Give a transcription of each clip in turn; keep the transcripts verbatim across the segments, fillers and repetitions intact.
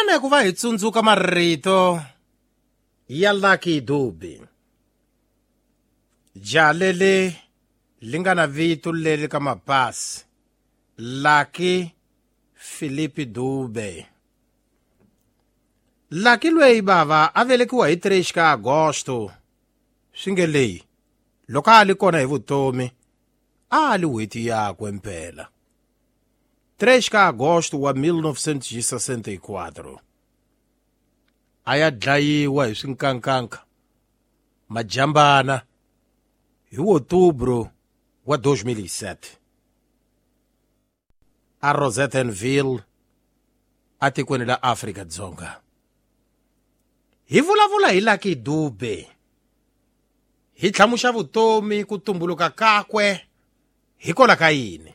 Kutani ku va hi tsundzuka marito ya Lucky Dube, jaha leri li nga na vito leri ka mapasi, Lucky Philip Dube. Lucky lweyi bava a velekiwa hi three ka Agosto, swi nge leyi loko a li kona hi vutomi a li n'hweti yakwe mpela. three ka Agosto wa mil novecentos e sessenta e quatro a ya dlayiwa hi swinkankanka majambana hi outubro wa dois mil e sete a Rosettenville atikweni la Afrika Dzonga. Hi vulavula hi Lucky Dube, hi tlhamuxa vutomi, ku tumbuluka kakwe hikola ka yini,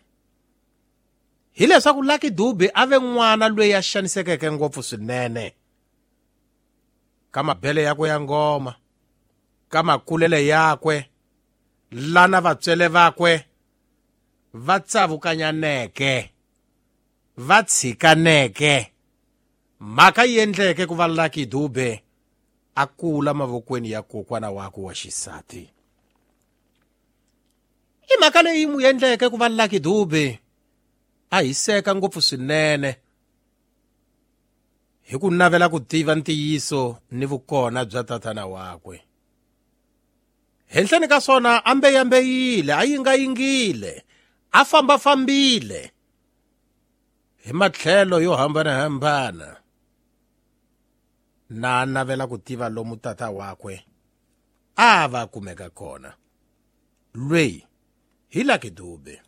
hileswaku Lucky Dube a ve n'wana loyi a xanisekeke ngopfu swinene ka mabele yakwe ya ngoma, ka makulele yakwe, lana vatswele vakwe va tsavukanyaneke, va tshikaneke, mhaka yi endleke ku va Lucky Dube a kula mavokweni ya kokwana wakwe wa xisati. I mhaka leyi n'wi endleke ku va Lucky Dube a hiseka ngopfu swinene hi ku navela ku tiva ntiyiso ni vukona bya tatana wakwe. Henhleni ka swona a mbeyambeyile, a yingayingile, a fambafambile hi matlhelo yo hambanahambana na a navela ku tiva lomu tata wakwe a va kumeka kona. Lweyi hi Lucky Dube.